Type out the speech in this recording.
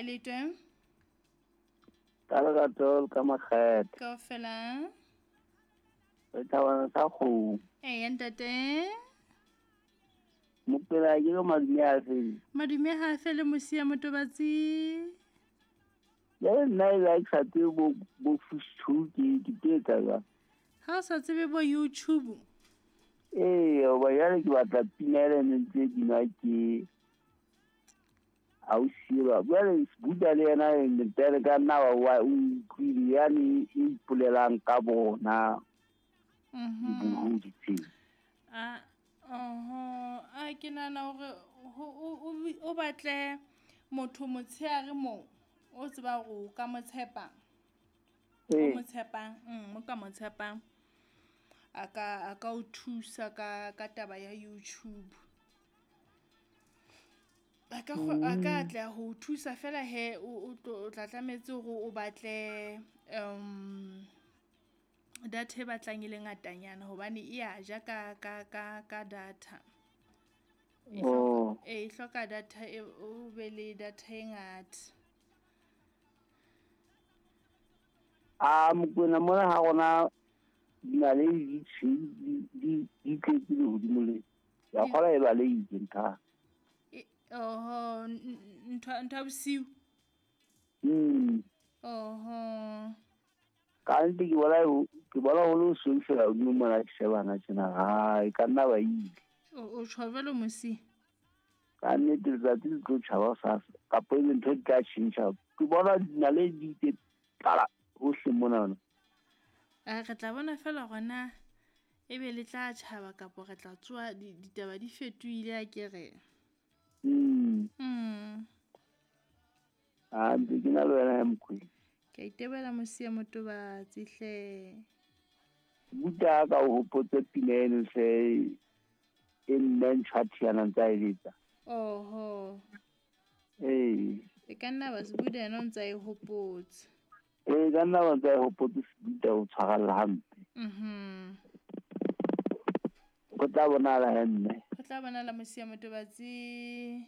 Kae letwe? Ka lerato le ka makgethe. Kaofela. Re thabana sa kgomo. Eya ntate. Mopela ke re madume a fele. Madume ha a fele mosia motobatsi. Jale nna e be ke sa tsebe bo bo fish ke ke tlo etsa jwang? Ha o sa tsebe bo YouTube. Ee, hoba jwale ke batla pina ele ne ntse binwa ke ausi elwa. Jwale Buddha le yena ntere ka nna wa o utlwile yane e ipolelang ka bona dibohodi tseo. A oho, a ke nahana hore o batle motho motshehare moo o tseba hore o ka mo tshepa. O mo tshepang, o ka mo tshepang. A ka o thusa ka taba ya YouTube. A ka atleha ho o thusa fela he o tla tlametse hore o batle data e batlang e le ngatanyana hobane e ya ja ka data. E hloka e hloka data e o be le data e ngata. A Mokwena mona ha rona dinaledi di tshweu di tletse lehodimo le. Ya kgola e balehile ntho. Oho, ntho ya bosiu. Oho. Ka nnete ke bona ho le hosweu fela hodimo mona ke shebana tjena ha e ka nna ba ile. O tjho jwalo mosi. Ka nnete letsatsi le tlo tjhaba hosasa kapa ebe ntho di tla tjhentjha. Ke bona dinaledi di itse tlala hohle mona. A re tla bona fela hore na ebe le tla tjhaba kapa re tla tsoha ditaba di fetohile a ke re. A ntse ke na le wena ya Mokwena. Ke a itebela mosia motobatsi hle. Buta ka o hopotse pina eno hle e mme ntjha thiana ntse a e letsa. Oho. Ee. E ka nna ba Sebuda yena o ntse a e hopotse. Ee, ka nna ba ntse a e hopotse Sebuda o tshwarella hampe. Go tla bonala he mme. Go tla bonala mosia motobatsi.